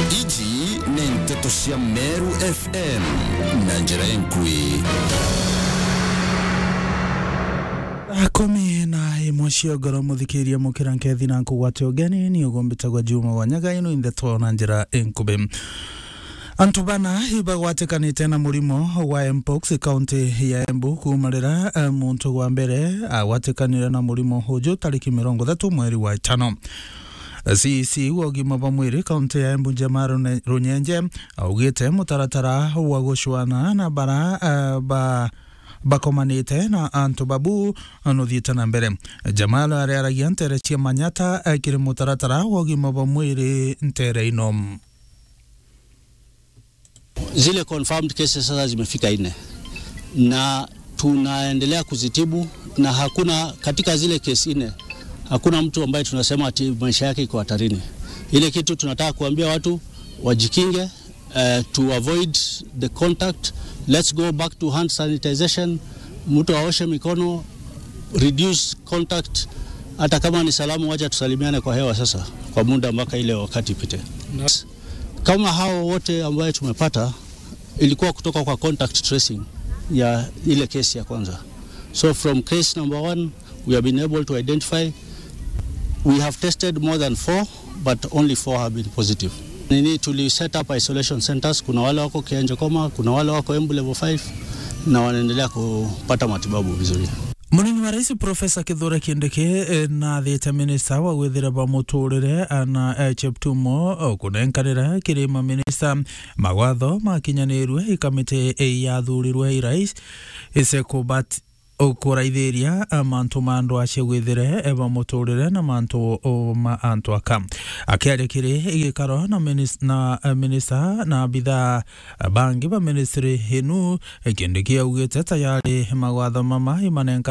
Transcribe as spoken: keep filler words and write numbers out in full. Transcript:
Iji ni nteto cia Meru F M na njira enkui. Thaa kumi na imwe cia ugoro, muthikiria, mukira nkethi na nkugwate ugeni, ni ugumbitagwa Juma wa Nyaga. Ino indeto na njira enkubi. Antu bana ibagwatikanite na murimo wa mpox kaunti ya Embu kuuma riria, eh, muntu wa mbere agwatikanire na murimo uju tariki mirongo ithatu mweri wa itano. C E C wa ugima bwa mwiri kaunti ya Embu, Jamal Rune-, Runyenje, augite mutaratara wa gucwana na bara, eh, ba, bakomanite na antu babu nuthiite na mbere. Jamal ariaragia ntere cia Manyata, eh, kiri mutaratara wa ugima bwa mwiri ntere ino. Zile confirmed cases sasa zimefika nne na tunaendelea kuzitibu, na hakuna, katika zile kesi nne, hakuna mtu ambaye tunasema ati maisha yake iko hatarini. Ile kitu tunataka kuambia watu wajikinge, eh, to avoid the contact. Let's go back to hand sanitization. Mtu aoshe mikono, reduce contact. Hata kama ni salamu, wacha tusalimiane kwa hewa sasa kwa muda mpaka ile wakati ipite. Kama hao wote ambaye tumepata, ilikuwa kutoka kwa contact tracing ya ile case ya kwanza. So from case number one, we have been able to identify, we have tested more than four, but only four have been positive. Nini, tuli set up isolation centers, kuna wale wako Kianjokoma, kuna wale wako Embu level five, na wanaendelea kupata matibabu vizuri. Munini wa Rais Profesa Kithure Kindiki, eh, nathite minista wa gwithira ba muturire, Anna, eh, Cheptumo, o kunenkanira kiri maminista mawatho makinyanirue i kamiti, eh, yathurirwe i rais, ise kubat-, o kuraithiria, eh, mantu ma andu acio gwithire, eh, ba muturire na mantu, o, ma antu aka. Akiaria kiri gikaro na minis-, na, eh, minista na abithaa bangi ba ministry inu, Kindiki augite tayari mawatho mama imanenka